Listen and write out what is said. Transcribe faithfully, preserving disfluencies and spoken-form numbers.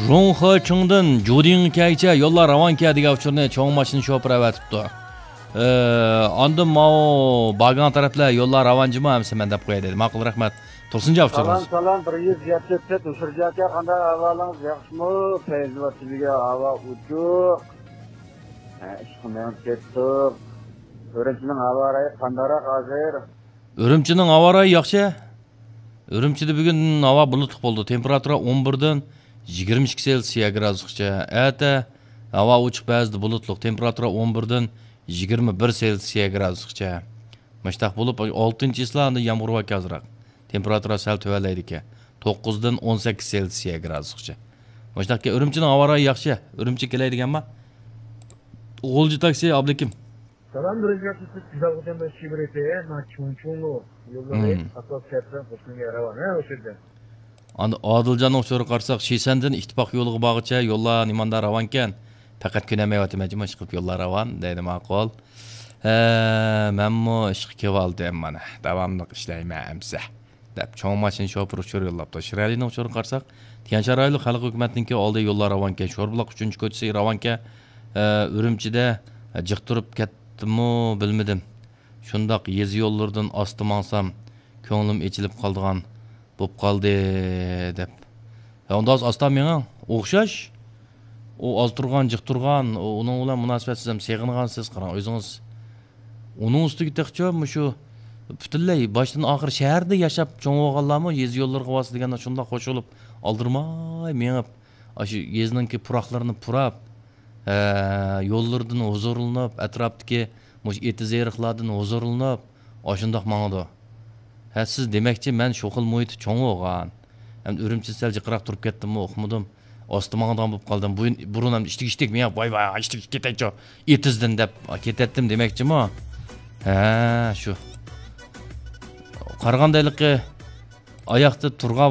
رۇڭخېچىڭدىن جۇدىڭغا كەلگۈچە يوللار راۋانكەن دېگەن ئۇچۇرنى چوڭ ماشىنا شوپۇرى ئەۋەتىپتۇ. ئى، ئاندىن ماۋۇ باگاڭ تەرەپلەر يوللار راۋانجىما ئەمسە مەن دەپ قوياي دېدى. ماقۇل، رەھمەت. تۇرسۇنجان ئۇچۇر سالام، سالام، بىر يۈز يەتتە تۆت ئۇچۇر جاكا، قانداق ئەھۋالىڭىز، ياخشىمۇ؟ پەيزى باتىدىگە ھاۋا ئۇچۇق. ھە، ئىشقا مېڭىپ كەتتۇق. ئۈرۈمچىنىڭ ھاۋا رايى قانداقراق ھازىر؟ ئۈرۈمچىنىڭ ھاۋا رايى ياخشى. ئۈرۈمچىدە بۈگۈن ھاۋا بۇلۇتلۇق بولىدۇ. تېمپېراتۇرا ئون بىردىن يىگىرمە ئىككى سېلسىيە گرادۇسقىچە. ئەتە ھاۋا ئوچۇق، بەزىدە بۇلۇتلۇق. تېمپېراتۇرا ئون بىردىن يىگىرمە بىر سېلسىيە گرادۇسقىچە. مۇشتاق بولۇپ، ئالتىنچى چىسلا ئاندىن يامغۇر باركەن ئازراق. تېمپېراتۇرا سەل تۆۋەنلەيدىكەن. توققۇزدىن ئون سەككىز سېلسىيە گرادۇسقىچە. مۇشتاقكەن ئۈرۈمچىنىڭ ھاۋا رايى ياخشى. ئۈرۈمچىگە كېلەي دېگەنما. غۇلجا تاكسى، ئابلىكىم. سالام، بىرىنچى قېتىم سىز گۈزەل خوتۇن بىلەن شىبرىتى، ما چۇڭچۇڭلۇ يوللىرى، مم، ئاساس شەھەردىن خوتۇنگە راۋان، ھە، ئوشۇ يەردە. ئاندىن ئادىلجاننىڭ ئۇچۇرىغا قارىساق، شىسەندىن ئىتتىپاق يولىغا بارغۇچە يوللار نېمانداق راۋانكەن؟ پەقەت كۈنەمەيۋاتىمەن جۇمۇ، ئىشقىلىپ يوللار راۋان، دەيدۇ، ماقۇل. ھە، مەنمۇ ئىشقا كېلىۋالدىم، مانا، داۋاملىق ئىشلەيمەن ئەمسە، دەپ چوڭ ماشىنا شوپۇرى ئۇچۇر يوللاپتۇ. شىرئەلىنىڭ ئۇچۇرىغا قارىساق، تيەنشان رايونلۇق خەلق ھۆكۈمەتنىڭكى ئالدى يوللار راۋانكەن، شوربۇلاق ئۈچىنچى كوچىسى راۋانكەن، ئە، ئۈرۈمچىدە، ئە، جىق تۇرۇپ كەتتىمۇ بىلمىدىم. شۇنداق يېزا يوللىرىدىن ئاستا ماڭسام، كۆڭلۈم ئېچىلىپ قالىدىغان بوپ قالدى، دەپ. ھە، ئۇنداق ئاستا مېڭىڭ. ئوخشاش. ئۇ ئاز تۇرغان، جىق تۇرغان، ئۇ، ئۇنىڭ بىلەن مۇناسىۋەتسىز ھەم سېغىنغانسىز، قاراڭ، ئۆزىڭىز. ئۇنىڭ ئۈستىگە تېخىچە مۇشۇ پۈتۈنلەي باشتىن ئاخىر شەھەردە ياشاپ چوڭ بولغانلارمۇ يېزا يوللىرىغا بارسا دېگەندە شۇنداق قوشۇلۇپ، ئالدىرىماي مېڭىپ، ئاشۇ يېزىنىڭكى پۇراقلىرىنى پۇراپ، ئە، يوللىرىدىن ھۇزۇرلىنىپ، ئەتراپتىكى مۇشۇ ئېتىز-ئېرىقلاردىن ھۇزۇرلىنىپ، ئاشۇنداق ماڭىدۇ. ھە، سىز دېمەكچى، مەن شۇ خىل مۇھىتتا چوڭ بولغان. ئەمدى ئۈرۈمچىدىن سەل جىقراق تۇرۇپ كەتتىممۇ، ئۇقمىدىم. ئاستا ماڭىدىغان بولۇپ قالدىم. بۇرۇن، بۇرۇن ئەمدى ئىشتىك-ئىشتىك، مېڭىپ، ۋاي، ۋاي، ئىشتىك-ئىشتىك كېتەيچۇ. ئېتىزدىن دەپ كېتەتتىم دېمەكچىمۇ؟ ھە، شۇ. قارىغاندا ھېلىقى ئاياقتا تۇرغان